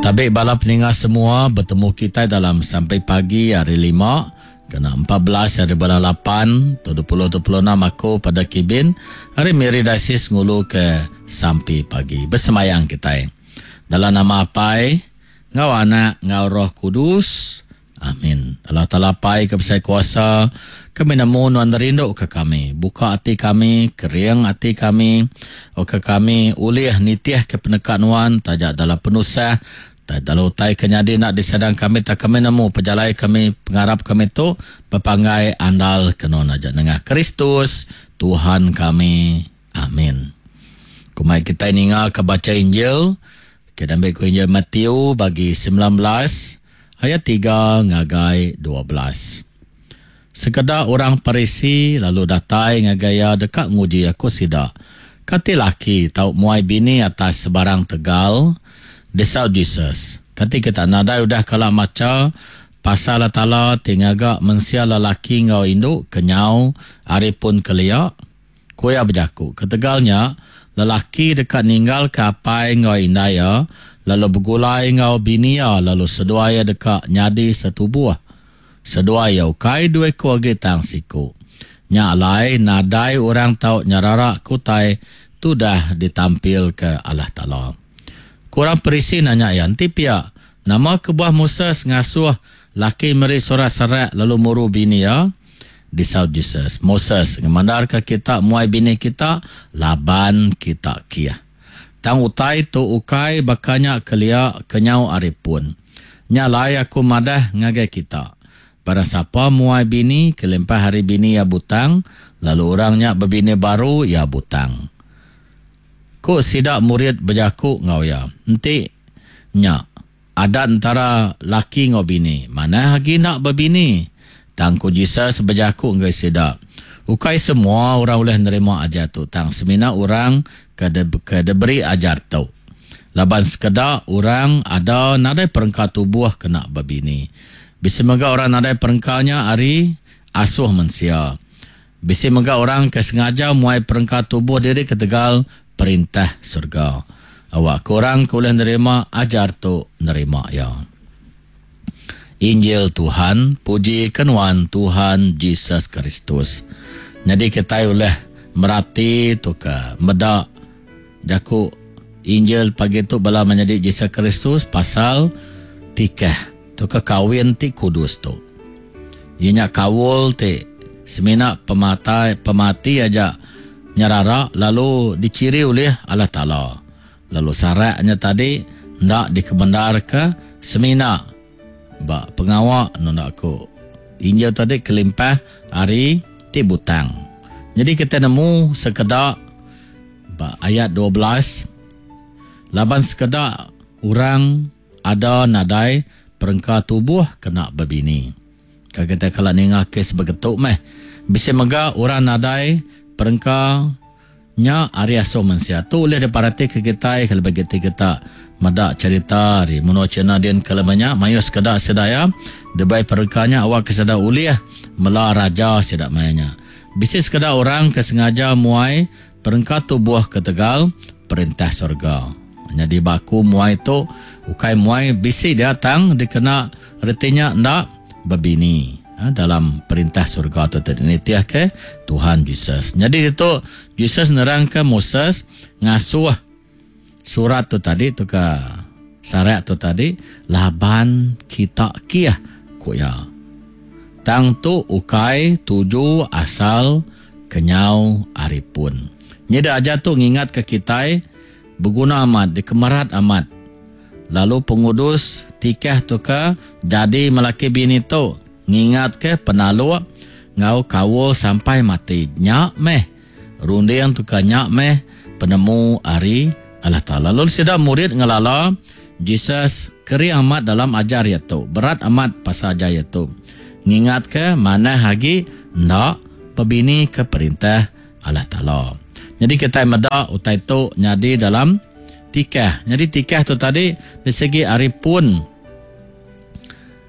Tabi bala peninga semua betemu kitai dalam sampai pagi hari lima kena 14 hari bulan 8 tu 2026 aku pada Kibin hari Miri Diocese ngulu ke sampi pagi besemayang kitai dalam nama Apai enggau Anak enggau Roh Kudus. Amin. Allah Taala Apai ke besai kuasa, kami nemu nuan rindu ke kami. Buka ati kami, kering ati kami, awakka kami ulih nitih ke peneka nuan taja dalam penusah, taja dalam utai ke nyadi enda disadang kami tang kami nemu pejalai kami pengarap kami tu bepanggai andal ke nuan aja nengah Kristus Tuhan kami. Amin. Kumai kitai ninga ke bacha Injil ke diambi ku Injil Matthew bagi 19 Ayat tiga ngagai 12. Sekeda orang Parisi lalu datai ngagai iya deka nguji aku sida, Kati laki tau muai bini atas sebarang tegal? Disaut Jesus, Kati kita nadai udah kala macha pasal Allah Taala ti ngaga mensia lelaki enggau indu kenyau ari pun kelia? Ku iya bejaku, Ketegal nya, lelaki deka ninggalka apai enggau indai iya, lalu begulai enggau bini iya, lalu seduai iya deka nyadi setubuh. Seduai iya ukai dua iku agi tang siku. Nya alai, nadai orang tau nyeraraka utai ti udah ditampilka Allah Taala. Ku orang Parisi nanya iya, Enti pia, nama kebuah Moses ngasuh laki meri surat serak lalu muru bini iya? Disaut Jesus, Moses ngemandarka kita muai bini kita laban kita kieh. Tang utai tu ukai baka nya kelia kenyau ari pun. Nya alai aku madah ngagai kita, barang sapa muai bini kelimpah ari bini iya butang, lalu orang nya bebini baru, iya butang. Ku sida murid bejaku enggau iya, Enti nya, Adat entara laki enggau bini manah agi enda bebini. Tang ku Jesus bejaku ngagai sida, Ukai semua orang ulih nerima ajar tu, tang semina orang ke ke diberi ajar tu. Laban sekeda orang ada nadai perengka tubuh kena bebini. Bisi mega orang nadai perengka nya ari asuh mensia. Bisi mega orang ke sengaja muai perengka tubuh diri ketegal Perintah serega. Awakka orang ke ulih nerima ajar tu nerima iya. Injil Tuhan, puji ke nuan Tuhan Jesus Kristus. Nyadi kitai ulih merati tauka meda jaku Injil pagi tu bala menyadi Jesus Kristus pasal tikah tauka kawin ti kudus tu. Iya nya kaul ti semina pematai pemati aja nyerara lalu dichiri ulih Allah Taala. Lalu sarak nya tadi enda dikemendarka semina ba pengawa nunda ku Injil tadi kelimpah ari ti butang. Nyadi kitai nemu sekeda ba ayat 12 laban sekeda orang Ada nadai perengka tubuh kena bebini. Ka kitai kala ninga kes begetu meh. Bisi mega orang nadai perengka nya ari asuh mensia. Tu ulih diperatika kitai kelebih agi ti kita meda cherita ari menua China din ke lebuh nya mayuh sekeda sida iya dibai perengka nya awakka sida ulih mela raja sida maya nya. Bisi sekeda orang ke sengaja muai Perengka tubuh ketegal perintah sorga. Nyadi ba aku muai tu ukai muai bisi dia tang dikena reti nya enda bebini dalam perintah sorga tu ti nitih ke Tuhan Jesus. Nyadi ditu Jesus nerangka Moses ngasuh surat tu tadi tu ka sarak tu tadi laban kita kih ku iya. Tang tu ukai tuju asal kenyau ari pun. Nyida ajar tu ngingatka kitai beguna amat dikemerat amat lalu pengudus tikah tu ke jadi melaki bini tu ngingatka penaluk enggau kaul sampai mati nya meh Runding tu ka nya meh penemu ari Allah Taala. Lalu sida murid ngelala Jesus kering amat dalam ajar iya tu. Berat amat pasal ajar iya tu. Ngingatka manah agi enda bebini ke perintah Allah Taala. Nyadi kitai meda utai tu nyadi dalam tikah. Nyadi tikah tu tadi disegi ari pun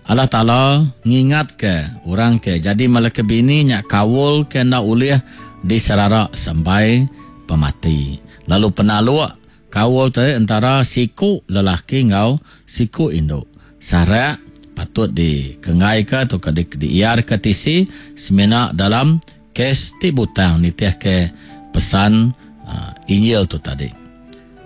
Allah Taala ngingatka orang ke jadi melaki bini nya kaul ke enda ulih diserara sampai pemati. Lalu penaluk Kaul tu entara siku lelaki enggau siku indu. Sarak patut dikenggaika tauka diiarka tisi semina dalam kes ti butang nitihka pesan Injil tu tadi.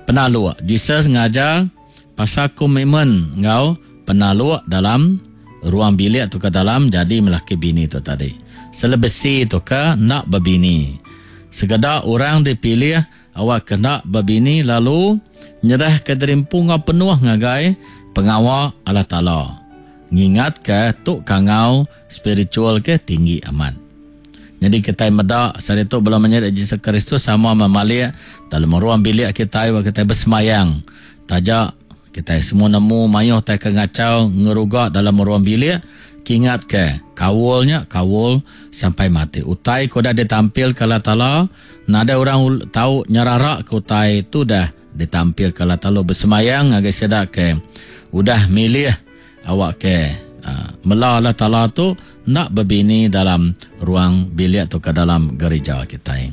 Penaluk, Jesus ngajar pasal komitmen enggau penaluk dalam ruang bilik tauka dalam jadi melaki bini tu tadi. Selebesi tauka enda bebini. Sekeda orang dipilih Awak ke enda bebini lalu nyerahka diri empu enggau penuh ngagai pengawa Allah Taala. Ngingatka tu kangau spiritual ke tinggi amat. Nyadi kitai meda sehari tu bala menyadi Jesus Kristus sama memalik dalam ruang bilik kitai wak kitai besemayang. Taja kitai semua nemu mayuh tai ke ngachau ngeruga dalam ruang bilik, kingatka kaul nya kaul sampai mati. Utai ke udah ditampilka Allah Taala Nadai orang tau nyeraraka utai tu dah ditampilka Allah Taala besemayang ngagai sida ke udah milih awakka mela Allah Taala tu enda bebini dalam ruang bilik tauka dalam gerija kitai.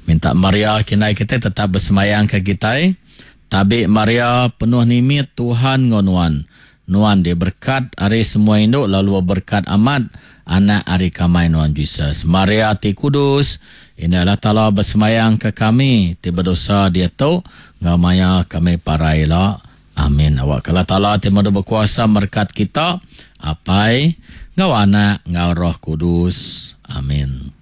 Minta Maria kindai kitai tetap besemayangka kitai. Tabi Maria penuh nimit Tuhan enggau nuan. Nuan diberkat ari semua indu lalu beberkat amat Anak ari kamai nuan Jesus. Maria ti kudus, Indai Allah Taala besembayang ke kami ti bedosa diatu enggau maya kami parai ila. Amin. Awakka Allah Taala ti madu bekuasa merekat kita, Apai, enggau Anak, enggau Roh Kudus. Amin.